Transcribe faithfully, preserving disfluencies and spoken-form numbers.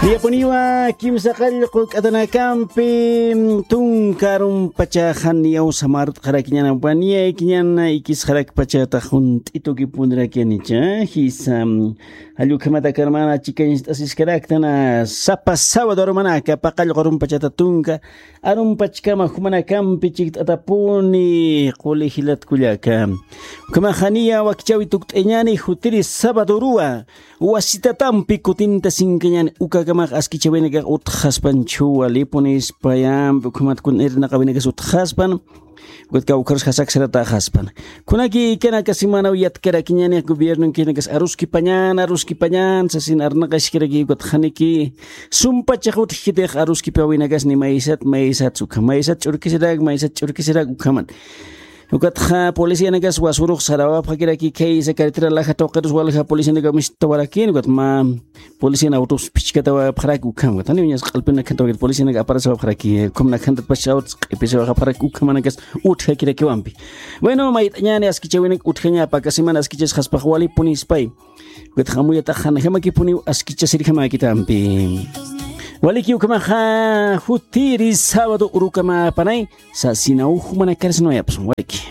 Yapuniwa kimsa qallqu k'atanakampi tunka arumpachaxan yaw samart'xarakiñanampa niyaykiñana ikisxarakpachata junt'itukipunirakianicha jisa. Jallukhamata karmana chikañst'asiskaraktana sapa sabado arumanaka paqallqu arumpachata tunka arumpachkama jumanakampi chikt'atapuni qulijilatkullaka. Ukhamaxaniya wakichawi tukt'añani jutiri sabadoruwa wasitatampi kutinta sinkañani ukakamax askichawinakax utxaspan chuwa lipunispayampi ukhamat kun irnaqawinakas utxaspan. Ukatka ukharus jasaksarataxaspan kunaki ikanaka semanaw yatkarakiñani gobierno kinakas aruskipañan aruskipañan sasin arnaqaskiraki ukat janiki sumpachax utjkitix aruskipawinakas ni maysat maysat ukha maysat ch'urkisirak maysat ch'urkisirak ukhaman. Ukatxa policianakas wasurux sarawapxakiraki khaysa carretera laja tuqirus walja policianaka mistawarakin ukat mä polician autos phichkatawapxaraki ukham ukat janiw ñas q'alpinakantawakir policianaka aparasawapxaraki ukham nakhantatpach autos q'ipisawapxaraki ukhamanakas utjakirakiwampi. Bueno mayt'añani askichawinak utjaña paka semana askichasxaspax walipunispay. Ukatxa amuyatax janajamakipuniw askichasirjamakitampi. Waliki ukhamaxa jutiri sábado urukamapanay sasinaw jumanakarsnawayapsun waliki.